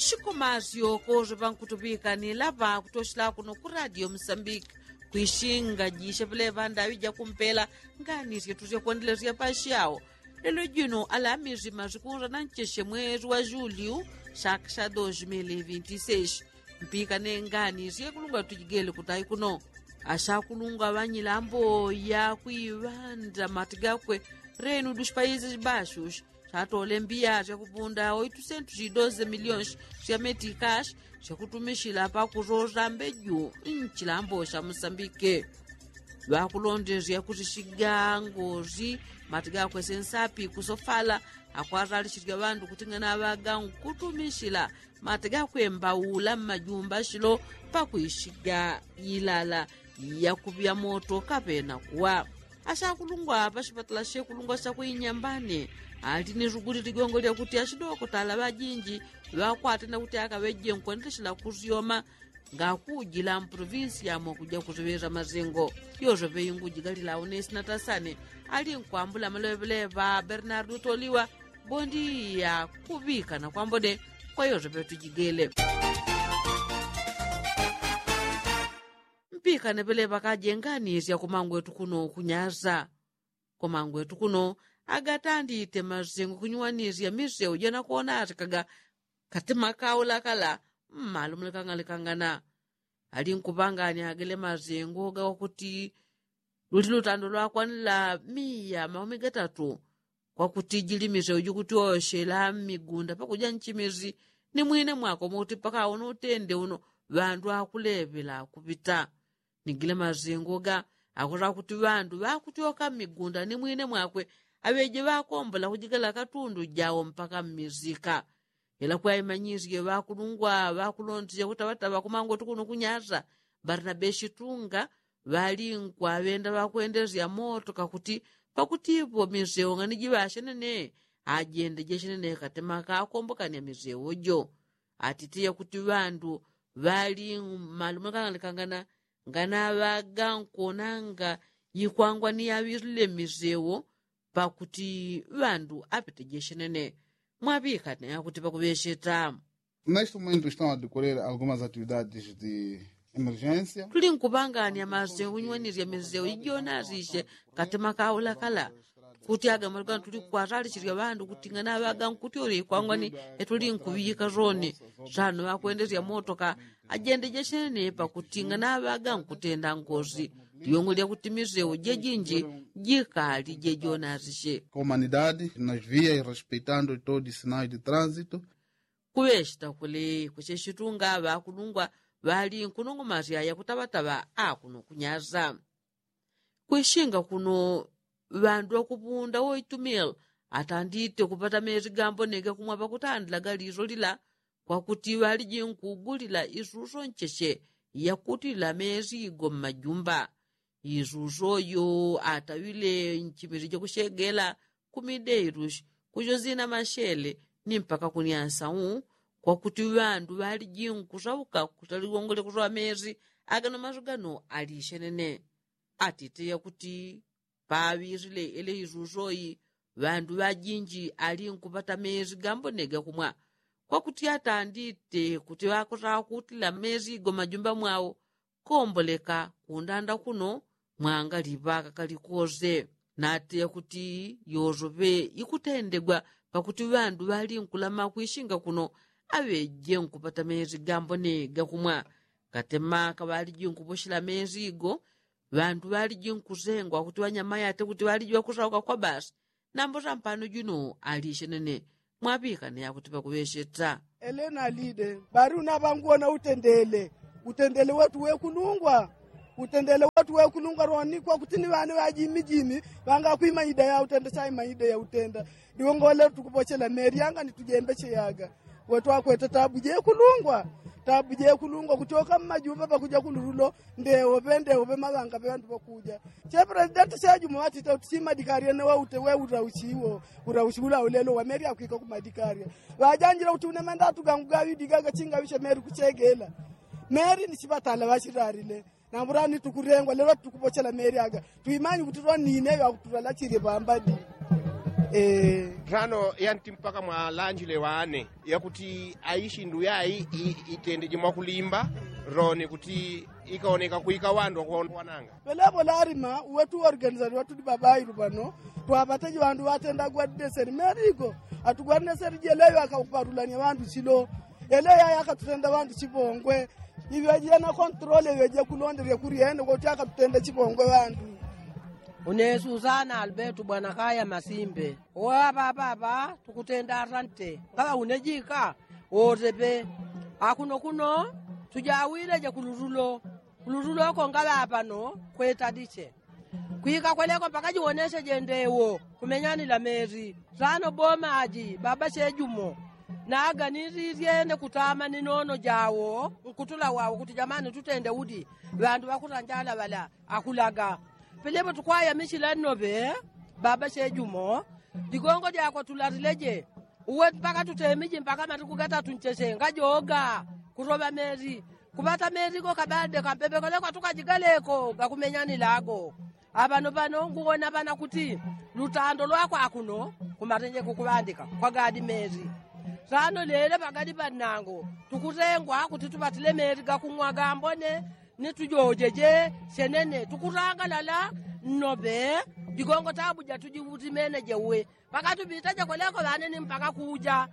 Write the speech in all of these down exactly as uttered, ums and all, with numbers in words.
Shikomasyo koze pankutupika ni lapa kutoshela kuno ku radio musambiki. Kwishinga jishe pelepa ndawi jakumpela ngani syetu syakwendelesya pasyawo. Lelo jino alamisi masikunza na ncheshe mwezi wa julyu shaka sha dos mili vinti seshi. Mpika ne ngani syekulungwa tujigele kutayi kuno. Ashakulungwa ŵanyilambo ya kwiŵanda mati gakwe renu dushi payizi bashushi. Shatole mbiya syakupunda oitusentu shidoze milionshi sya metikashi syakutumishila pakusosa mbeju nchilambo sha musambike. Ŵakulondesya kusishiga ngozi mati gakwese nsapi kusofala akwasalishisya ŵandu kuting'ana ŵaga nkutumishila mati gakwembaula mmajumba shilo pakwishiga ilala yakupya moto kapena kuwa. Ashakulungwa pashipatala shekulungwa shakwinyambane ali ni suguli ligongo lyakuti ashidokotala ŵajinji ŵakwatenda kuti akaŵeje nkwendeshela kusyoma ngakujila mprovinsi yamwe kuja kusiŵeza masengo. Yosepe ingujigalila aunesi natasane ali nkwambula maleŵeleŵa bernardu toliwa. Bondi yakuŵikana kwambone kwa yosepe tujigele. Mpikane pele pakajenganisya kumangwetu kuno kunyasa. Kumangwetu kuno agatandite masengo kunyuwanisya miseu janakuona atikaga katima kaula kala mmalu mulikang'alikangana. Ali nkupanganya agele masengo gawakuti luli lutando lwakwanila miya maumi gatatu. Kwakuti jili miseu jikutyoshela mmigunda pakuja nchimisi ni mwine mwako moti pakaona utende uno ŵandu akuleŵela kupita. Ni gila masengo ga akuti ŵandu ŵakutyoka mmigunda ni mwine mwakwe aŵeje ŵakombola kujigala katundu jawo mpaka mmisika. Ila kwaimanyisye ŵakulungwa ŵakulondeja kutaŵataŵa kumangwetu kuno kunyasa barnabe shitunga ŵali nkwaŵenda ŵakwendesya moto kakuti pakutipo miseu ng'ani jiŵashenene. Ajende jeshenene katima kakombokanya miseu jo. Atite yakuti ŵandu ŵali mmalumo likang'alikangana nganaŵaga nkuonanga yikwangwa ni yaŵilile miseu pakuti ŵandu apetejeshenene. Mwaŵikane akuti pakuŵesheta. Neste momento estão a decorrer algumas atividades de emergência. Tuli nkupanganya masengo kunyuwanisya miseu ijonasishe katima kaula kala. Kuti aga maluga tuli kukwasalishisya ŵandu kuting'ana ŵaga nkutyole ikwangwani etuli nkuŵiyika soni. Sano ŵakwendesya motoka ajendejeshenene pakuting'ana ŵaga nkutenda ngozi. Liongo lyakuti miseu jejinji jikali jejonasishe. Comunidade nas vias respeitando todos sinais de trânsito. Kuŵeshita kuli kuseshitunga ŵakulungwa ŵali nkunongomasya yakutaŵataŵa akuno kunyasa. Kwishinga kuno ŵandu ŵakupunda woitumila atandite kupata mezi gambonega kumwa pakutandilaga liso lila. Kwakuti ŵaliji nkugulila isuso ncheche yakutila mezi go mmajumba. Isuso yo ataŵile nchimili jakushegela kumideilushi kujozina mashele ni mpaka kunyasa u. Kwakuti ŵandu ŵaliji nkusauka kutaliwongole kusoŵa mezi agano masu gano alishenene. Atite yakuti paŵisile ele isusoyi ŵandu ŵajinji ali nkupata mezi gambonega kumwa. Kwakuti atandite kuti ŵakosaŵa kutila mezi go mmajumba mwawo komboleka kundanda kuno mwangaliŵa kakali kose. Nateya kuti yosoŵe ikutendegwa pakuti ŵandu ŵali nkulama kwishinga kuno aŵeje nkupata mezi gambonega kumwa. Katema kaŵaliji nkuposhela mezi go ŵandu ŵaliji nkusengwa kuti ŵanyama yate kuti ŵaliji ŵakusauka kwa basi. Nambo sampano juno alishenene. Mwaŵikane yakuti pakuŵesheta. Elena alide bari unaŵanguona utendele. Utendele wetu wekulungwa. Utendele wetu wekulungwa loni kwakuti ni ŵane ŵajimijimi ŵangakwima ida ya utenda saima ida ya utenda. Ndiwo ngolelo tukupochela meli yanga nitujembeche yaga. Wetwakweta tabu jekulungwa. Tabu jekulungwa kutyoka mmajumba pakuja kulululo. Ndewo ŵe ndewo ŵe maŵanga ŵe ŵandu ŵakuja. Che presidenti sejumo ŵatita uti simadikaria ne waute weurausiwo. Urausiwula ulelo wameri akwika kumadikaria. Ŵajanjila uti unemenda atugangu gaŵidigaga chingaŵishe meri kuchegela. Meri ni chiŵatala ŵachirarile. Nambulani tukurengwa lelo tukupochela meri aga. Twimanyi kuti lwanine ŵakuturalachile ŵambadi. Tano yanti mpaka mwalanjile wane yakuti aishindu yai itendeje mwakulimba roni kuti ikaoneka kuika wandu wakuwananga. Pelepo larima uwe tuorganizali watudi babailu pano twapateje wandu watenda gwadideseli merigo atugwadideseli jeleyo akauparulanya wandu chilo ele yaya akatutenda wandu chipongwe. Iŵe jena kontrole iŵe jekulondelya kuryene koti akatutenda chipongwe wandu. Unesu sana albertu bwana kaya masimbe. Owa papa apa tukutenda asante ngaŵa unejika wotepe. Akuno kuno tujawileje kulutulo kulutulo konga ŵapano kwetadiche kwika kweleko mpaka jiwoneseje ndewo kumenyanila meri. Tano bomaji baba chejumo naganililye ne kutama ni nono jawo nkutula wawo kuti jamani tutende udi ŵandu ŵakutanjala ŵala akulaga. Pelepo tukwayamichila nnoŵe baba chejumo ligongo lyakwe tulalileje uwe mpaka tutemiji mpaka matuku gatatu ncheche ngajoga kutoŵa meli kuŵata meli go kabade kampepekole kwatukajigaleko gakumenyanilago. Aŵano ŵano nguwona ŵana kuti lutando lwakwa akuno kumatenje kukuŵandika kwagadi meli. Tano lele ŵagadi ŵannango tukutengwa kuti tuŵatile meli gakung'wa gambone ni tujojeje chenene tukutangalala nnoŵe. Ligongo tabu jatujiutimene jeuwe mpaka tupitaje kweleko ŵane ni mpaka kuja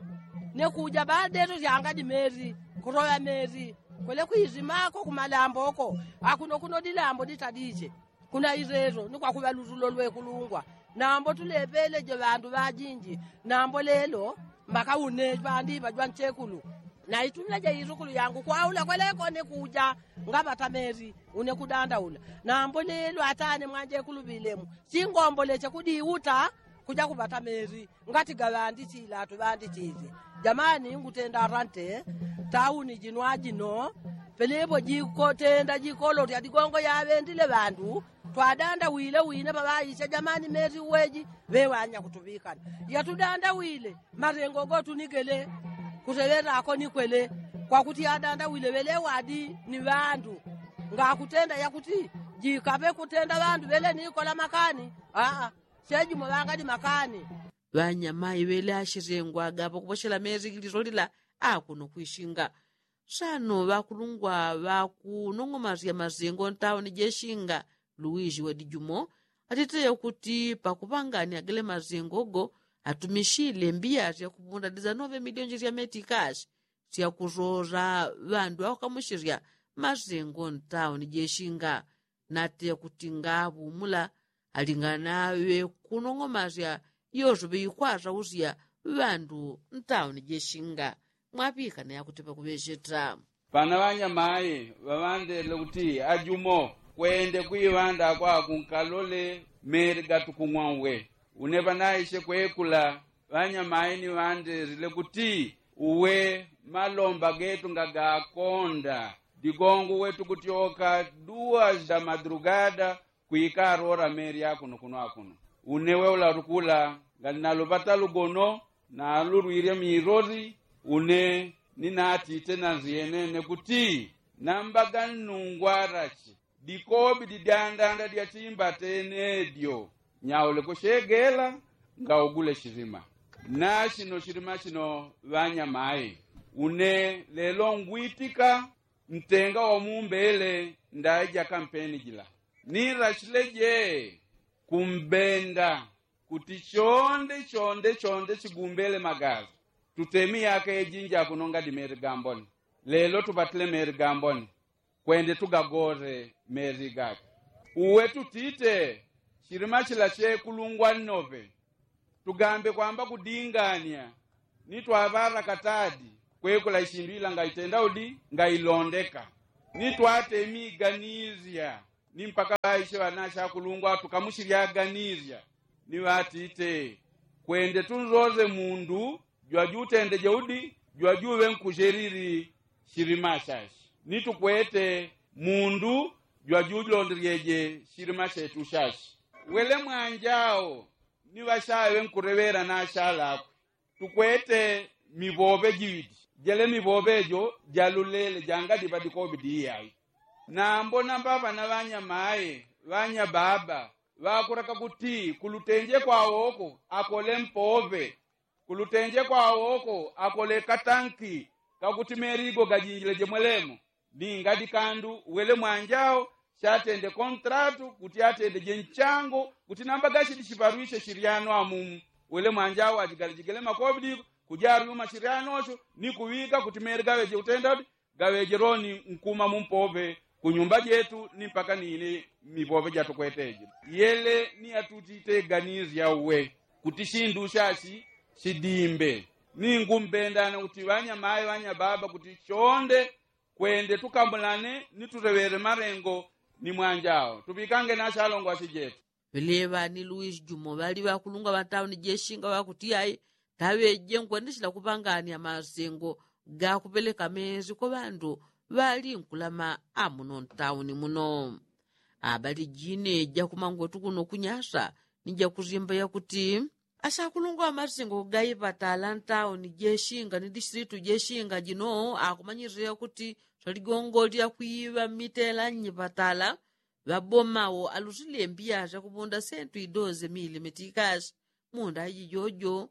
ne kuja ŵadetu tyangadi meli kutoŵa meli kwele kwisimako kumalamboko. Akuno kuno dilambo ditadije kuna ileto ni kwakuŵa lutulo lwekulungwa. Nambo tulepeleje ŵandu ŵajinji nambo lelo mpaka une ŵandiŵa jwanchekulu naitumile jeisukulu yangu kwaula kweleko ni kuja ngaŵata meli une kudandaula. Nambo lelo atane mwanjekulu ŵilemu chingomboleche kudiuta kuja kuŵata meli ngati gaŵandichila tuŵandichile. Jamani ngutenda asante tauni jino ajino pelepo jikotenda jikolo tya ligongo yaŵendile ŵandu twadandawile wine ŵaŵaicha jamani meli uweji ŵewanya kutuŵikana yatudandawile malengo gotunigele kuteŵetako nikwele kwakuti yadandawile ŵelewadi ni ŵandu ngakutenda yakuti jikaŵe kutenda ŵandu ŵele nikola makani. Aa chejumo ŵangadi makani. Ŵanyamai ŵele ashitengwaga pakupochela meli lilolila akuno kwishinga. Sano ŵakulungwa ŵakunong'omasya masengo ntauni jeshinga luwiji wadijumo atiteya kuti pakuŵangania gele masengo go atumichile mbiya sya kupunda dizanove milionji sya metikashi sya kusosa ŵandu akukamuchilya masengo ntauni jeshinga. Nateya kuti ngaŵumula alingana ŵekunong'omasya yoso ŵeikwasa usya ŵandu ntauni jeshinga. Mwaŵikana yakuti pakuŵecheta pana ŵanyamayi ŵaŵandelele kuti ajumo kwende kwiŵanda kwaku nkalole meli gatukung'wa uwe. Une ŵanaiche kwekula ŵanyamayi ni ŵandelele kuti uwe malomba getu ngagakonda. Digongo uwe tukutyoka duwa da madrugada kwika arora meli akuno kuno akuno. Une weula tukula ngali naluŵata lugono nalulwilye miloli. Une ninatite nanziyenene kuti namba gannungwarache dikobi didyandanda dyatimbatene dyo nyauleko chegela ngaugule chilima. Nachino chilima chino ŵanyamayi une lelo ngwitika ntenga wamumbele ndaija kampeni jila. Nilachile je kumbenda kuti chonde chonde chonde chigumbele magazi. Tutemi yaka ejinji akunonga dimeli gamboni. Lelo tuŵatile meli gamboni kwende tugagore meli gake. Uwe tutite chilima chila chekulungwa nnoŵe tugambe kwamba kudingania nitwaŵala katadi kwekula ishindu ila ngaitenda udi ngailondeka. Nitwatemi iganisya ni mpaka ŵaiche ŵanache akulungwa tukamuchilyaganisya. Ni ŵatite kwende tunzoze mundu jwajutendeje udi jwajuŵe nkuchelili chilima chache. Ni tukwete mundu jwajulondelyeje chilima chetu chache. Wele mwanjao ni ŵachawe nkuleŵela nachalakwe. Tukwete miŵoŵe jiŵidi jele miŵoŵe jo jalulele jangadiŵa dikobidi iyai. Nambo namba ŵana ŵanyamaye ŵanyababa ŵakureka kuti kulutenje kwawoko akole mpove, kulutenje kwawoko akole katanki kakuti merigo gajinjile jemwelemo. Ni ngadi kandu wele mwanjao shatende kontratu kuti atende jenchango kuti namba gashidi shiparwishe shiryano amumu. Wele mwanjao ajigalijigele makobidi kujaryuma shiryanocho ni kuŵika kuti meri gaŵeje utenda udi gaŵeje loni nkuma mumpove kunyumba jetu ni mpaka nini mipove jatukweteje. Yele ni atutiteganisya uwe kuti shindu shashi shidimbe. Ningumbendana kuti ŵanyamayi ŵanyababa kuti shonde kwende tukamulane ni tuleŵele malengo ni mwanjao tuŵikange na shalongwa shijetu. Ŵeleŵa ni luisi jumo ŵali ŵakulungwa ŵa tauni jeshinga ŵakuti ai taŵeje nkwendeshela kupangania masengo gakupeleka mezi kwa ŵandu ŵali nkulama amuno ntauni muno. Abali jine jakumangwetu kuno kunyasa ni jakuzimba yakuti asakulungwa ŵamasengo gaipatala ntauni jeshinga ni distilitu jeshinga jino akumanyirira yakuti swaligongo lyakwiŵa mitela nnyipatala ŵabomawo alusile mbiya syakupunda sentu idoze mili metikashi. Munda iji jojo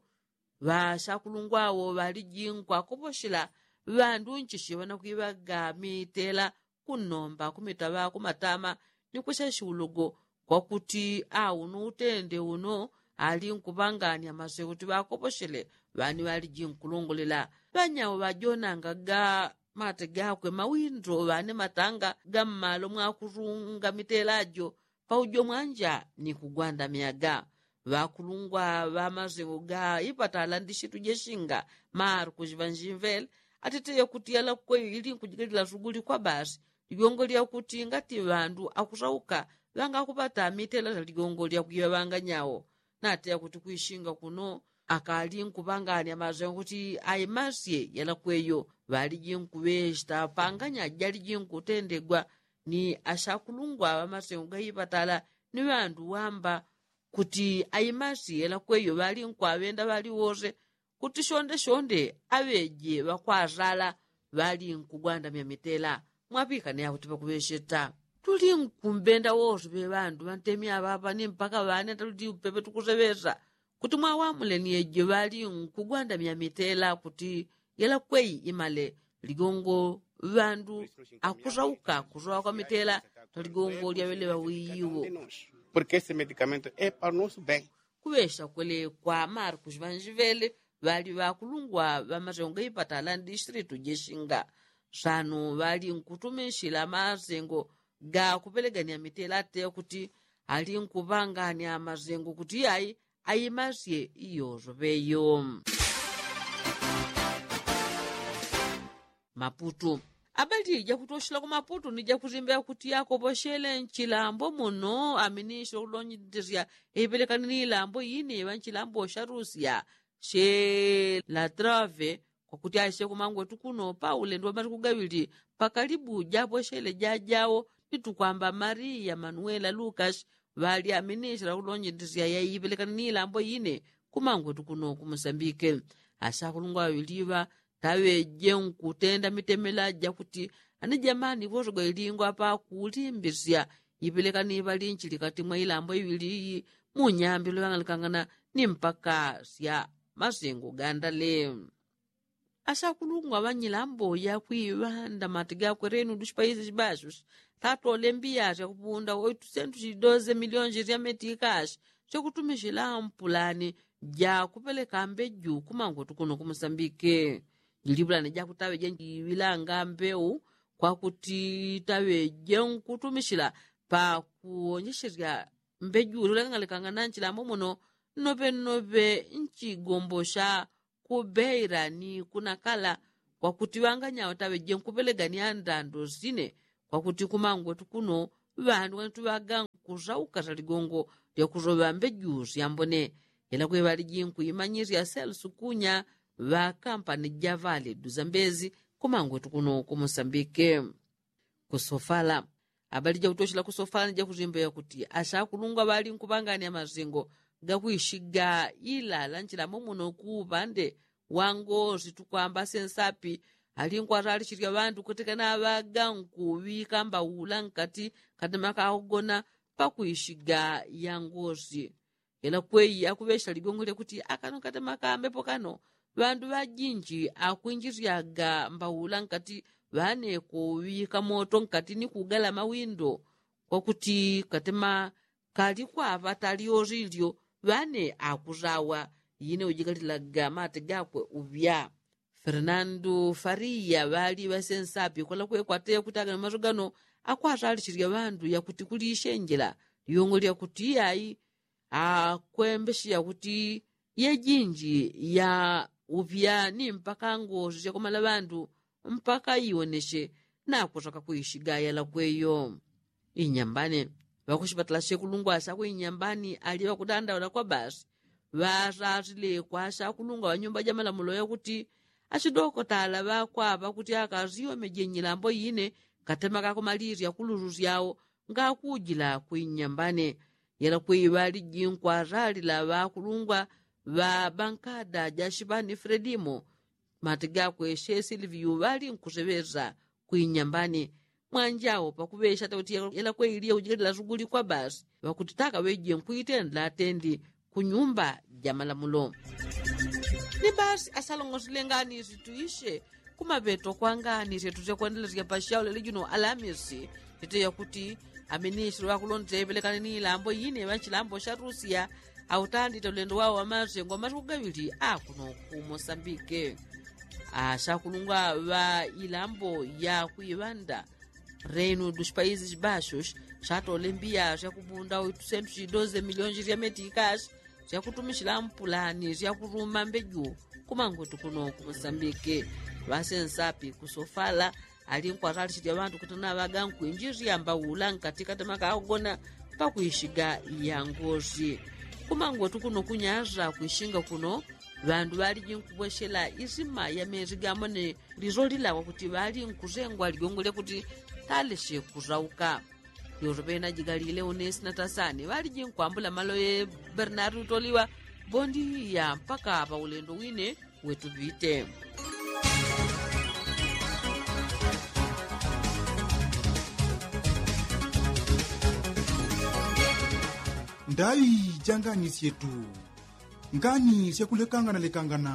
ŵasakulungwawo ŵaliji nkwakoposhela ŵandu nchishi ŵanakwiŵaga mitela kunnomba kumitaŵa kumatama ni kusesha ulogo kwakuti auno utende uno ali nkupangania maswe kuti ŵakoposhele ŵani ŵaliji nkulongolela. Ŵanyawo ŵajonanga ga mate gakwe mawindo ŵane matanga ga mmalo mwakurunga mitela jo paujo mwanja ni kugwandamyaga. Ŵakulungwa ŵamasengo ga ipatala ndishitu jeshinga markus ŵanjimvele atite yakuti yalakwe ili nkujigalila suguli kwa basi ligongo lyakuti ngati ŵandu akusauka ŵangakupata mitela sya ligongo lyakwiŵa ŵanganyawo. Nate yakuti kwishinga kuno akali nkupangania masengo kuti aimasye yalakweyo ŵaliji nkuŵeshita panganya jaliji nkutendegwa ni ashakulungwa ŵamasengo gaipatala ni ŵandu wamba kuti aimasi yelakweyo ŵali nkwaŵenda ŵali wose kuti shonde shonde aŵeje ŵakwasala ŵali nkugwandamya mitela. Mwapikane yakuti pakuŵesheta tuli nkumbenda wose ŵeŵandu ŵantemi aŵaŵa ni mpaka ŵane tatuti upepe tukuseŵesa kuti mwawamule ni eje ŵali nkugwandamya mitela kuti yelakweyi imale ligongo ŵandu akusauka kusowa kwa mitela taligongo lyaŵeleŵa wiyiwo. Porke ese medikamento e pa nosu ben. Kuŵesha kwele kwa markus ŵanjivele ŵali ŵakulungwa ŵamasengo gaipatala ndisitilitu jeshinga sanu ŵali nkutumishila masengo gakupelegania mitela ate kuti ali nkuŵangania masengo kuti ai aimasye iyoso ŵeyo. Maputu. Abali jakutoshela ku maputu ni jakusimba yakuti yakoposhele nchilambo muno aminisile kulonjesya ipelekani ni ilambo ine iŵa nchilambo sha rusia she la trave kwakuti aise kumangwetu kuno paule ndi wamasiku gaŵili pakalibu japoshele jajawo ni tukwamba maria manuela lukas ŵali aminisile kulonjesya yaipelekani ni ilambo ine kumangwetu kuno kumusambike. Asakulungwa ŵaŵili ŵa taŵeje nkutenda mitemela jakuti anijamani ŵosogwa ilingwa pakulimbisya ipelekani ŵalinchili kati mwa ilambo iŵili iyi munyambi lwang'alikang'ana ni mpaka sya masengo gandale. Asakulungwa ŵanyilambo yakwiŵanda mati gakwerenu dushipaizi shibashi tatole mbiya syakupunda oitusentu shidoze milionji sya metikashi syakutumishila mpulani jakupeleka mbeju kumangwetu kuno kumusambike. Jilipulani jakutaŵeja jiŵilanga mbeu kwakuti taŵeje nkutumishila pakuonjesherya mbeju lolekang'alekang'ana nchilambo muno nnoŵe nnoŵe nchigombo sha kubeira ni kunakala kwakuti ŵanganyawo taŵeje nkupelegania ndando sine kwakuti kumangwetu kuno ŵandu ŵanitu ŵaga nkusauka saligongo lyakusoŵa mbeju syambone. Ila kweŵaliji nkuimanyisya selsu kunya ŵakampani javale duzambezi kumangwetu kuno kumusambike. Kusofala. Abali jakutoshela kusofala ni jakusimba yakuti asakulungwa ŵali nkuŵangania masengo gakwishiga ilala nchilambo muno kuupande wangosi tukwamba sensapi ali nkwasalishisya ŵandu kutekena ŵaga nkuŵika mbaula nkati katima kakugona pakuishiga ya ngosi. Ela kwei akuŵesha ligongo lyakuti akano katema kambepo kano ŵandu ŵajinji akwinjisyaga mbaula nkati ŵane kuŵika moto nkati ni kugala mawindo kwakuti katema kali kwaŵa talyosilyo ŵane akusawa. Ine ujikalilaga mate gakwe uŵya. Fernando fariya ŵali ŵasensapi kwela kwekwate yakutaga ni maso gano akwasalisisya ŵandu yakuti kulishenjela lyongo lyakuti iyai akwembesya kuti yejinji ya upya ni mpaka ngosi syakumala ŵandu mpaka iwonesye nakusaka kuishiga yalakweyo. Inyambani ŵakushipatala shekulungwa shakwinyambani ali ŵakudandaula kwa basi ŵasasile kwa shakulungwa ŵanyumba jamalamulo yakuti ashidokotala ŵakwaŵa kuti akasiyome jenyilambo ine katema kakumalisya kululu syao ngakujila kwinyambani. Yalakwei ŵaliji nkwasalila ŵakulungwa ŵa bankada jashipani fredimo mati gakwe she silviyu ŵalinkuseŵesa kwinyambani. Mwanjao pakuŵesha tauti yalakweiliya kujikalila suguli kwa basi ŵakuti takaŵeje nkwitendela atendi kunyumba jamalamulo. Ni basi asalongosile ngani situishe kumaŵeto kwa ngani syetu syakwendelesya pasyaulele juno alamisi. Tite yakuti aminisile ŵakulonde ŵelekane ni ilambo ine ŵanchilambo sha rusiya autandite ulendo wao wamase ngwa masiku gaŵili akuno ku mosambike. Ashakulungwa ŵa ilambo ya kuiŵanda reino dushipaizi shibasho shatole mbiya syakubunda oitusentu shidoze milionji syametikashi syakutumishila mpulani syakuruma mbeju. Kumangwetu kuno ku mosambike ŵasensapi kusofala ali nkwatalisisya ŵandu kuti naŵaga nkwinjisya mbaula nkati katema kakugona pakwishiga ya ngosi. Kumangwetu kuno kunyasa kwishinga kuno ŵandu ŵaliji nkubweshela isima ya mezi gamone liso lila kwakuti ŵali nkusengwa ligongo lyakuti talesye kusauka. Yoso pena jigalile unesi na tasani ŵaliji nkwambula malo ye bernardo toliwa bondiya mpaka paulendo wine wetupite. Ndaŵi ja ngani syetu ngani syakulekanganalekangana.